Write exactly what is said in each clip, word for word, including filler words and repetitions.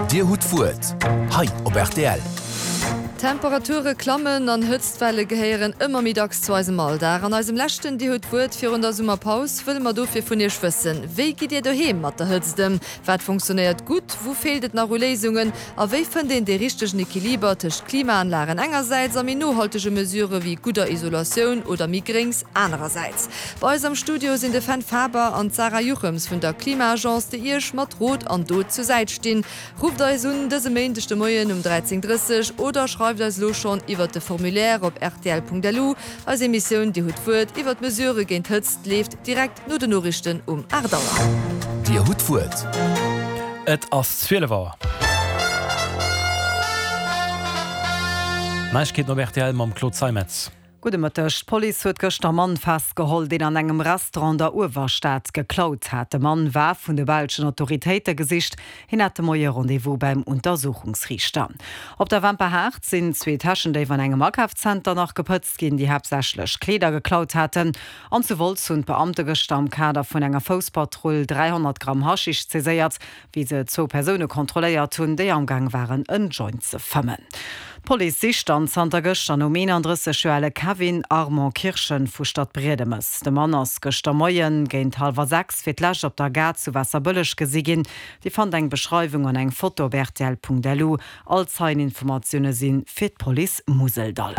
Dir hutt d'Wuert hei op rtl. Temperature klammen an Hëtztwelle gehéieren ëmmer méi dacks zu eisem Alldag. An eisem leschten Dir hutt d'Wuert virun der Summerpaus wëlle mer dofir vun Iech wëssen: Wéi gitt Dir doheem mat der Hëtzt ëm? Wat funktionéiert gutt? Wou feelt et nach u Léisungen? A wéi fënnt een dee richtegen Equiliber tëscht Klimaanlagen engersäits a méi nohaltege Mesurë wéi gudder Isolatioun oder méi Gréngs anerersäits? Bei eis am Studio sinn de Fenn Faber an d'Sarah Juchems vun der Klima-Agence, déi Iech mat Rot an Dot zur Säit stinn. Rufft eis un dëse Méindeg de Moien um dräizéng drësseg oder schreift eis elo schonn iwwert de Formulaire op rtl.lu. Eis Emissioun Dir hutt d'Wuert iwwert Mesurë géint Hëtzt leeft direkt no den Noriichten um aacht Auer. Dir hutt d'Wuert. Et ass zwielef Auer. Neiegkeeten op rtl mam Claude Zeimetz. Gudde Mëtteg. D'Police huet gëschter e Mann festgeholl, deen an engem Restaurant an der Uewerstad geklaut hat. De Mann war vun de belschen Autoritéite gesicht. Hien hat de Moie Rendez-vous beim Untersuchungsriichter. Op der Wemperhaart sinn zwee Täschendéif an engem Akafszenter nach gepëtzt ginn, déi haaptsächlech Kleeder geklaut haten. An zu Wolz hunn d'Beamte gëschter am Kader vun enger Fousspatrull dräihonnert Gramm Haschisch saiséiert, wéi se zwou Persoune kontrolléiert hunn, déi amgaang waren en Joint ze fëmmen. D'Police sicht dann zanter gëschter nom eenandrësseg Joer ale Kevin Armand Kirchen vu Stadbriedemes. De Mann ass gëschter Moien géint hallwer sechs fir d'lescht op der Gare zu Waasserbëlleg gesi ginn. Dir fannt eng Beschreiwung an eng Foto op rtl.lu. All Zeieninformatioune si fir d'Police Museldall.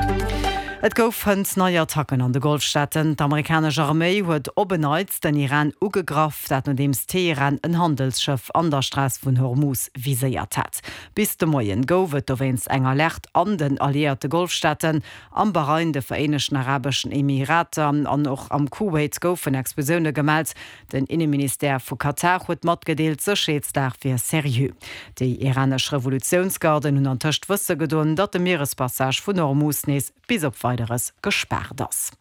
Et gouf hënt nei Attacken an de Golfstaaten. D'amerikanesch Arméi huet op en Neits den Iran ugegraff, dat nodeems Teheran en Handelsschëff an der Strooss vun Hormuz viséiert hat. Bis de Moien gouf et dowéinst eng Alerte an den alliéierte Golfstaaten, am Bahrain, de Vereenegten Arabeschen Emirater an och am Kuwait goufen Explosioune gemellt. Den Inneministère vu Katar huet matgedeelt, d'Sécherheetslag wier seriö. Déi iranesch Revolutiounsgarden hunn antëscht wësse gedoen, datt de Mierespassage vun Hormuz nees bis op Weideres gespaart ass.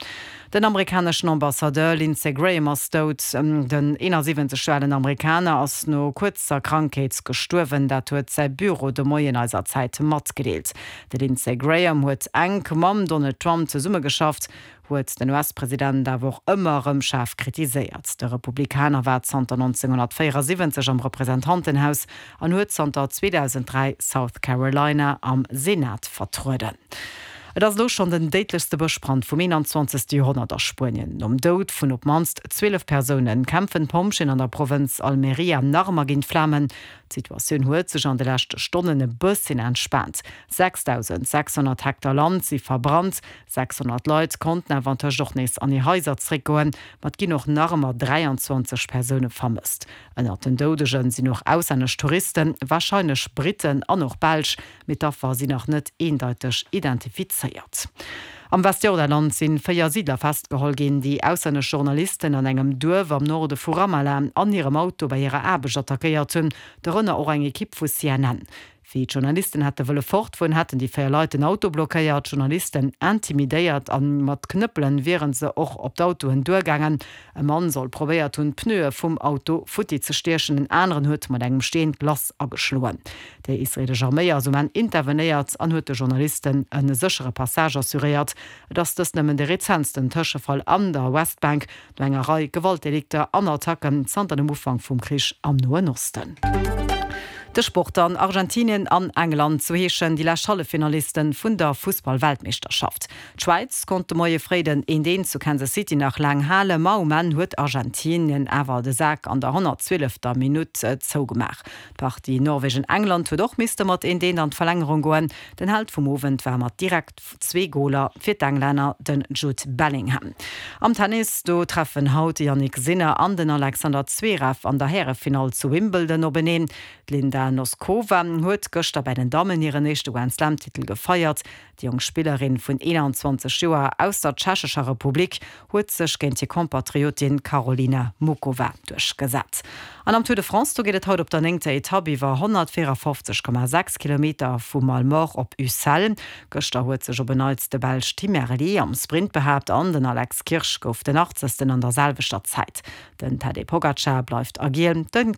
Den amerikaneschen Ambassadeur Lindsey Graham ass dout. Den eenasiwwenzeg Joer alen Amerikaner ass no kuerzer Krankheet gestuerwen, dat huet säi Büro de Moien eiser Zäit matgedeelt. De Lindsey Graham huet enk mam Donald Trump zesummegeschafft, huet den U S-President awer och ëmmer erëm schaarf kritiséiert. De Republikaner war zanter nonzénghonnertvéierasiwwenzeg am Representantenhaus an huet zanter zweedausenddräi South Carolina am Senat vertrueden. Et ass elo schonn den déidlechste Bëschbrand vum eenanzwanzegste Joerhonnert a Spuenien. Nom Doud vun op d'mannst zwielef Persoune kämpfen d'Pompjeeën an der Provënz Almería nach ëmmer géint d'Flamen. D'Situatioun huet sech an de leschte Stonnen e bësschen entspaant. sechsdausendsechshonnert Hektar Land si verbrannt, sechshonnert Leit konnten awer antëscht och nees an hir Haiser zeréckgoen, ma et ginn och nach ëmmer dräianzwanzeg Persoune vermësst. Ënnert den Doudege sinn och auslännesch Touristen, warscheinlech Britten an och Belsch, mee d'Affer sinn nach net eendeiteg identifizéiert. Am Westjordanland si véier Siidler festgeholl ginn, déi auslännesch Journalisten an engem Duerf am Norde vu Ramallah an hirem Auto bei hirer Aarbecht attackéiert hunn, dorënner och eng Ekipp vu C N N. Wéi d'Journalisten hätte wëlle fortfueren, hätten déi véier Leit den Auto blockéiert, d'Journalisten intimidéiert a mat Knëppele wiere se och op d'Autoen duergaangen. E Mann soll probéiert hunn, d'Pneue vum Auto futti ze stiechen, en aneren huet mat engem Steen d'Glace ageschloen. Déi israeelesch Arméi ass um Enn intervenéiert an huet de Journalisten e séchere Passage assuréiert. Et ass dëst nëmmen de rezentsten Tëschefall an der Westbank no enger Rei Gewaltdelikter an Attacken zanter dem Ufank vum Krich am Noen Osten. De Sport dann, Argentinien an England, sou heeschen déi lescht Halleffinalisten vun der Fussball-Weltmeeschterschaft. D'Schwäiz konnt de Moie fréi den eent eent zu Kansas City nach laang halen, ma um Enn huet Argentinien awer de Sak an der honnertzwielefter Minutt zougemaach. D'Partie Norwegen-England huet och misste mat eent eent an d'Verlängerung goen. Den Held vum Owend war mat direkt zwee Goler fir d'Englänner den Jude Bellingham. Am Tennis, do treffen haut de Jannik Sinner an den Alexander Zverev an der Härefinall zu Wimbledon openeen. D'Linda Noskova huet gëschter bei den Dammen hiren éischte Grand-Slam-Titel gefeiert. Déi jonk Spillerin vun eenanzwanzeg Joer aus der Tschechescher Republik huet sech géint hir Kompatriotin Karolina Muchova duerchgesat. An am Tour de France, do geet et haut op der néngter Etapp iwwer honnertvéierafofzeg Komma sechs Kilometer vu Malemort op Ussel. Gëschter huet sech op en Neits de Belsch Tim Merlier am Sprint behaapt an den Alex Kirsch gouf den Achtzegsten an der selwechter Zäit. Den Tadej Pogacar bleift a Giel, de